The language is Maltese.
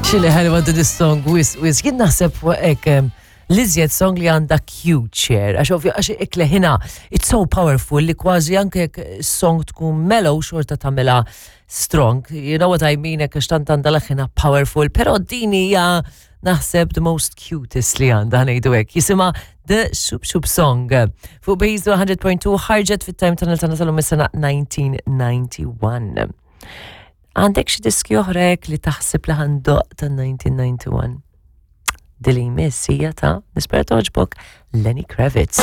Xili ħelwa din is-song wis wis jien naħseb hekk l-iżjed song li għandha cute share għax ovvja għax ikleħina it's so powerful li kważi anke jekk song tkun mellow xorta tagħmilha strong. You know what I mean hekk għax tant għandha leħina powerful, però din hija naħseb the most cutest li għandha ngħidu hekk. Jisimha The Shoop Shoop Song. Fuq Base 100.2 ħarġet fit-time tunnel tagħna tal-lum is-sena 1991. Għandek xi diski oħra hekk li taħseb li ħandoq ta' 1991? Dili jmiss hija ta' nispera toġbok Lenny Kravitz.